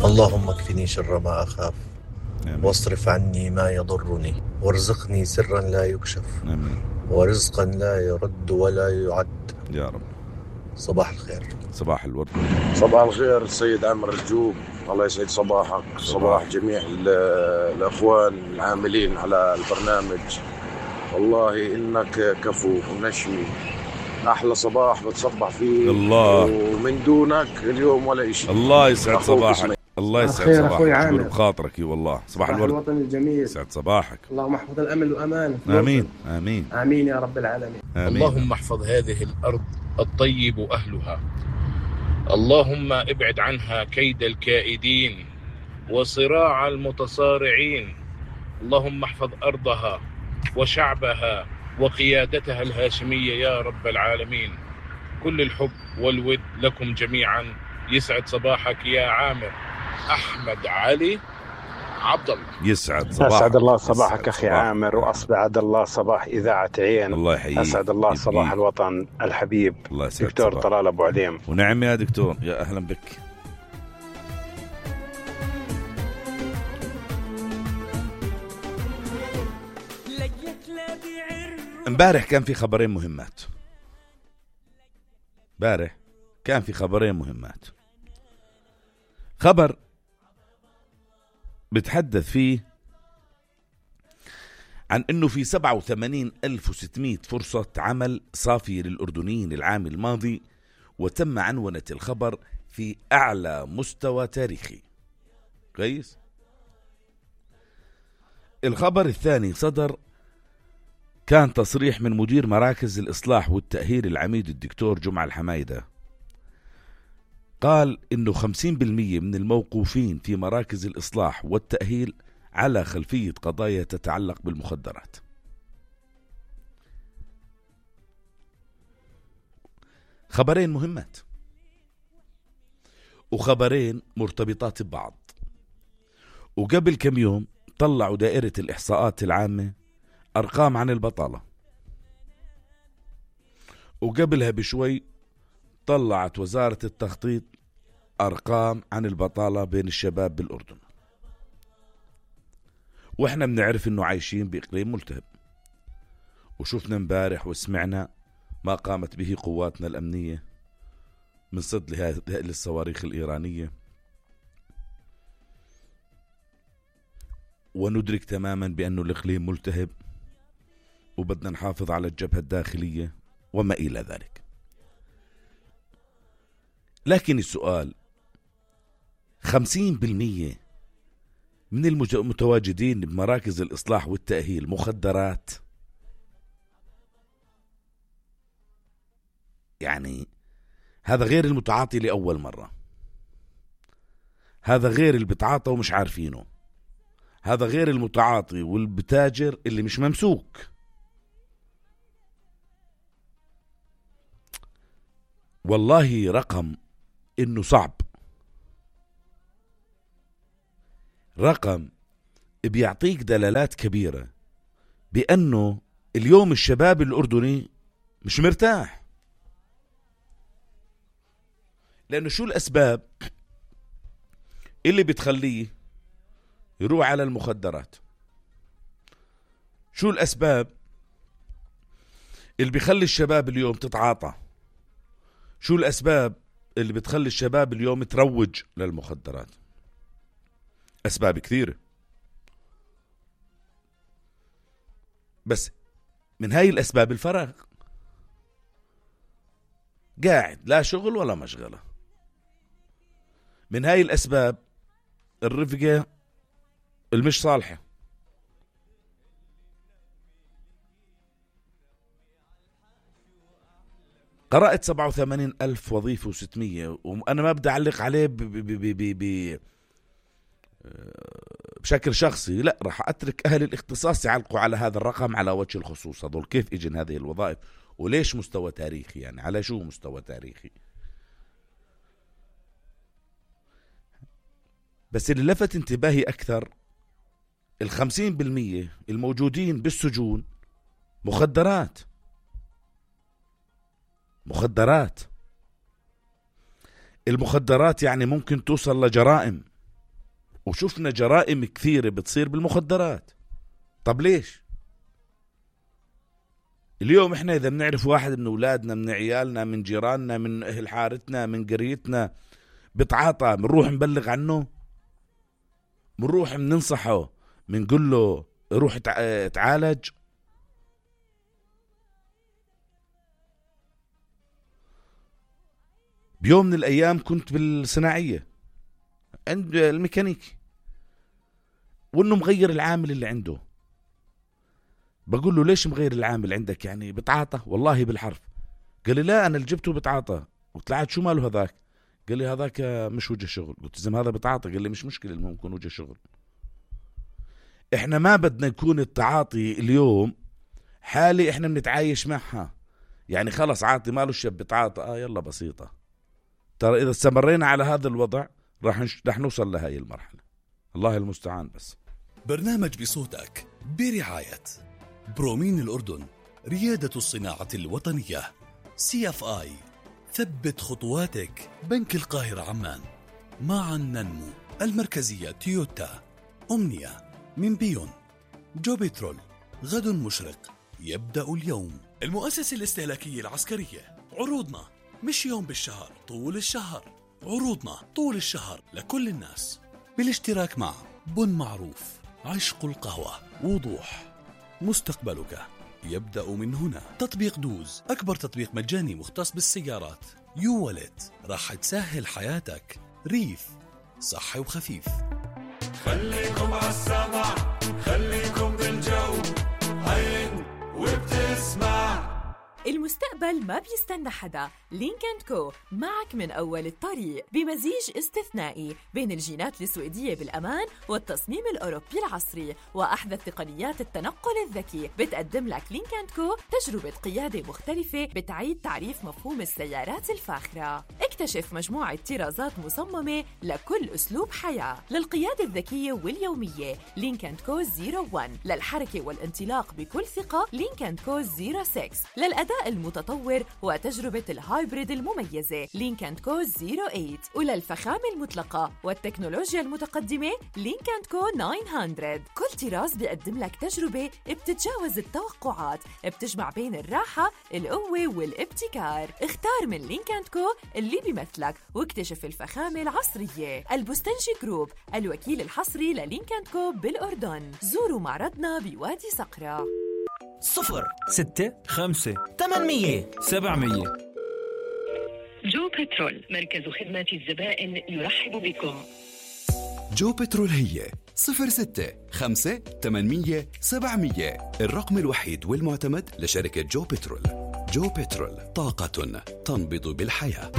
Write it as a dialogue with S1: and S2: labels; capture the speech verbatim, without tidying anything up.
S1: اللهم اكفني شر ما أخاف
S2: آمين.
S1: واصرف عني ما يضرني وارزقني سرا لا يكشف
S2: آمين
S1: ورزقا لا يرد ولا يعد
S2: يا رب.
S1: صباح الخير.
S2: صباح الورد.
S3: صباح الخير السيد عامر الجوب، الله يسعد صباحك.
S2: صباح,
S3: صباح جميع الأخوان العاملين على البرنامج، والله إنك كفو ونشمي، أحلى صباح بتصبح فيه
S2: الله،
S3: ومن دونك اليوم ولا إشي.
S2: الله يسعد صباحك. الله يسعد صباحك. شكرا بخاطرك والله. صباح الورد.
S4: الوطن الجميل.
S2: يسعد صباحك.
S4: اللهم احفظ الأمن والأمان.
S2: آمين آمين
S4: آمين يا رب العالمين.
S2: آمين.
S5: اللهم احفظ هذه الأرض الطيب أهلها، اللهم ابعد عنها كيد الكائدين وصراع المتصارعين، اللهم احفظ أرضها وشعبها وقيادتها الهاشمية يا رب العالمين. كل الحب والود لكم جميعا. يسعد صباحك يا عامر. أحمد علي عبد الله.
S2: يسعد صباحك.
S6: أسعد الله صباحك
S2: يسعد
S6: أخي
S2: صباحك.
S6: عامر، وأسعد الله صباح إذاعة عين.
S2: الله يحييك.
S6: أسعد الله
S2: يبقيك.
S6: صباح الوطن الحبيب.
S2: الله يسعد
S6: دكتور
S2: صباح.
S6: طلال أبو عليم.
S2: ونعم يا دكتور، يا أهلا بك. امبارح كان في خبرين مهمات. امبارح كان في خبرين مهمات. خبر بتحدث فيه عن انه في سبعة وثمانين ألف وستمائة فرصة عمل صافية للأردنيين العام الماضي، وتم عنونة الخبر في أعلى مستوى تاريخي. كويس. الخبر الثاني صدر، كان تصريح من مدير مراكز الإصلاح والتأهيل العميد الدكتور جمعة الحمايدة، قال إنه خمسين بالمئة من الموقوفين في مراكز الإصلاح والتأهيل على خلفية قضايا تتعلق بالمخدرات. خبرين مهمات وخبرين مرتبطات ببعض. وقبل كم يوم طلعوا دائرة الإحصاءات العامة أرقام عن البطالة، وقبلها بشوي طلعت وزارة التخطيط أرقام عن البطالة بين الشباب بالأردن. وإحنا بنعرف إنه عايشين بإقليم ملتهب، وشوفنا مبارح وسمعنا ما قامت به قواتنا الأمنية من صد لهذه الصواريخ الإيرانية، وندرك تماما بأنه الإقليم ملتهب وبدنا نحافظ على الجبهة الداخلية وما إلى ذلك. لكن السؤال، خمسين بالمئة من المتواجدين بمراكز الإصلاح والتأهيل مخدرات؟ يعني هذا غير المتعاطي لأول مرة، هذا غير اللي بتعاطى ومش عارفينه، هذا غير المتعاطي والبتاجر اللي مش ممسوك. والله رقم إنه صعب، رقم بيعطيك دلالات كبيرة بأنه اليوم الشباب الأردني مش مرتاح. لأنه شو الأسباب اللي بتخليه يروح على المخدرات؟ شو الأسباب اللي بيخلي الشباب اليوم تتعاطى؟ شو الأسباب اللي بتخلي الشباب اليوم تروج للمخدرات؟ أسباب كثيرة، بس من هاي الأسباب الفراغ، قاعد لا شغل ولا مشغلة. من هاي الأسباب الرفقة المش صالحة. قرأت سبعة وثمانين ألف وظيفة وستمية، وأنا ما بدي أعلق عليه ب ب ب ب ب بشكل شخصي، لا، راح أترك أهل الاختصاص يعلقوا على هذا الرقم على وجه الخصوص. هذول كيف إجن هذه الوظائف وليش مستوى تاريخي؟ يعني على شو مستوى تاريخي؟ بس اللي لفت انتباهي أكثر، الخمسين بالمية الموجودين بالسجون مخدرات. مخدرات المخدرات يعني ممكن توصل لجرائم. وشوفنا جرائم كثيرة بتصير بالمخدرات. طب ليش؟ اليوم احنا اذا بنعرف واحد من اولادنا، من عيالنا، من جيراننا، من اهل حارتنا، من قريتنا بتعاطى، بنروح نبلغ عنه، بنروح بننصحه، بنقول له روح اتعالج. بيوم من الايام كنت بالصناعية عند الميكانيكي، وانه مغير العامل اللي عنده. بقول له ليش مغير العامل عندك؟ يعني بتعاطى؟ والله بالحرف. قال لي لا، انا اللي جبته بتعاطى. قلت له شو ماله هذاك؟ قال لي هذاك مش وجه شغل. قلت زي هذا بتعاطى. قال لي مش مشكلة، المهم يكون وجه شغل. احنا ما بدنا يكون التعاطي اليوم حالي احنا بنتعايش معها، يعني خلص عاطي ماله الشاب بتعاطى، اه يلا بسيطة. ترى اذا استمرينا على هذا الوضع راح نش... راح نوصل لهاي المرحلة. الله المستعان. بس
S7: برنامج بصوتك برعاية برومين الأردن، ريادة الصناعة الوطنية، سي اف آي، ثبت خطواتك، بنك القاهرة عمان، معا ننمو، المركزية تويوتا، أمنية، من بيون، جو بترول، غد مشرق، يبدأ اليوم، المؤسسة الاستهلاكية العسكرية. عروضنا مش يوم بالشهر، طول الشهر. عروضنا طول الشهر لكل الناس، بالاشتراك مع بن معروف، عشق القهوة، وضوح، مستقبلك يبدأ من هنا. تطبيق دوز، أكبر تطبيق مجاني مختص بالسيارات. يو والت، راح تسهل حياتك. ريف، صحي وخفيف.
S8: خليكم عالسمع، خليكم بالجو، هين وبتسمع.
S9: المستقبل ما بيستنى حدا. لينك أند كو معك من أول الطريق، بمزيج استثنائي بين الجينات السويدية بالأمان والتصميم الأوروبي العصري وأحدث تقنيات التنقل الذكي. بتقدم لك لينك أند كو تجربة قيادة مختلفة بتعيد تعريف مفهوم السيارات الفاخرة. اكتشف مجموعة طرازات مصممة لكل أسلوب حياة. للقيادة الذكية واليومية لينك أند كو صفر واحد، للحركة والانطلاق بكل ثقة لينك أند كو صفر ستة، للأداء المتطور وتجربة الهايبريد المميزة لينك أند كو صفر ثمانية، وللفخامة المطلقة والتكنولوجيا المتقدمة لينك أند كو تسعمية. كل طراز بيقدم لك تجربة بتتجاوز التوقعات، بتجمع بين الراحة، القوة والابتكار. اختار من لينك أند كو اللي بيمثلك واكتشف الفخامة العصرية. البستنجي جروب، الوكيل الحصري للينك أند كو بالأردن. زوروا معرضنا بوادي صقرة.
S10: صفر ستة خمسة ثمانمية سبعمية.
S11: جو بترول، مركز خدمات الزبائن يرحب بكم.
S12: جو بترول هي صفر ستة خمسة ثمانمية سبعمية، الرقم الوحيد والمعتمد لشركة جو بترول. جو بترول، طاقة تنبض بالحياة.